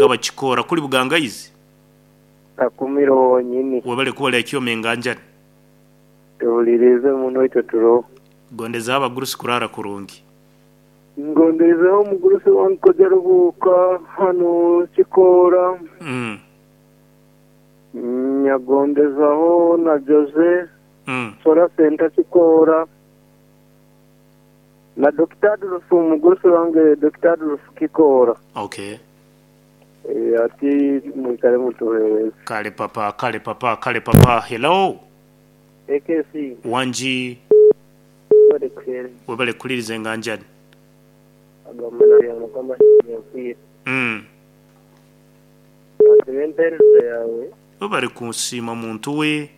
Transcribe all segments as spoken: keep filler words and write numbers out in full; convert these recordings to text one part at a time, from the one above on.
Abakikoora kuli bugangaizi. Kakumiro wonyini. Webale kuba kyoma enganjani. Tuwulirize muno itwe turoho. Gondeza abagurusi kurara kurungi. Ngondezeho omugurusi wange koja rubuuka hano Kikoora. Mm. Nyagondezaho na Jose Mm. Sora Center Kikoora. Na Dokita Adolf omugurusi wange Dokita Adolf Kikoora. Okay. E, ati mwikale mutuhereze. Kale papa, kale papa, kale papa. Hello. A K C. Wanji. Webale kuhereza. Webale kuliriza enganjani. Agamana ya Mukama yakwire. Mm. Asibe empeereza yawe. Webale kunsiima muntu we.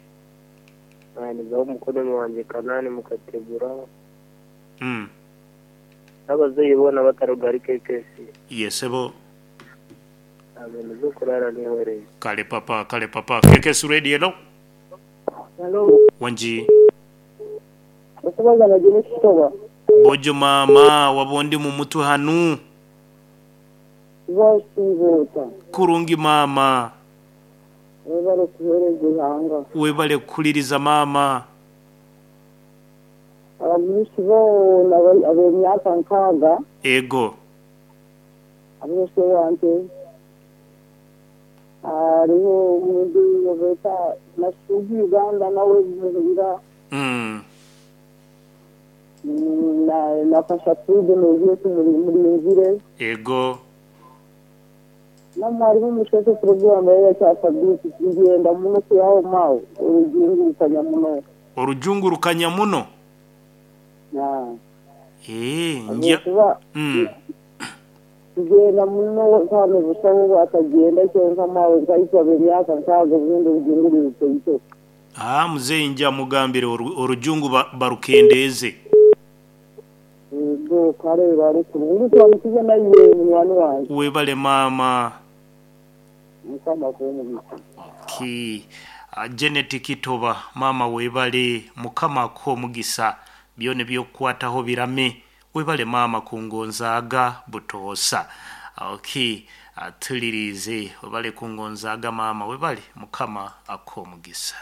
Nanizaho umukono wanjye Kanani mukategura. Mm. N'abazeyi bona batarugari K K C. Yesebo. Amen, zo kurara nihoreye. Kale papa, kale papa. K K S Radio, hello. Hello. Wanji. Okubaza na Jene Kitoba. Bojo mama, wabondi mu mutwe hanu. Basibuta. Kurungi mama. Webale kuhereza ihanga. Webale kuliriza mama. Abagurusi bona ab'emyaka nkaaga. Ego. Abose wange hariho omundu beta Nasugi Uganda nawe muhira. Mm. na na Kashatude nozetu murinzire. Ego. Na mwarimu mushese program ya cyasabisi kugenda muno kuyaho mawe urujungurukanya muno. Orujungurukanya muno. Na Eh, njya. kuba Mm. tugenda muno kandi busaho batagenda cyonka mawe nkayitwa emyaka nkaaga obundi rujungurutse ito. Ah, muzeyi njya mugambire oru- orujungu ba- barukendeeze. Yego kare bari kurungi twamukize naye munywani wanjye. Webale mama. Mukama kuba. Okay. Uh, Janet Kitoba mama webale, Mukama akuhe omugisa, byona ebyokukwataho birame. Webale mama kungonzaaga butoosa. Okay. Uh, tulirize webale kungonzaaga mama, webale, Mukama akuhe omugisa.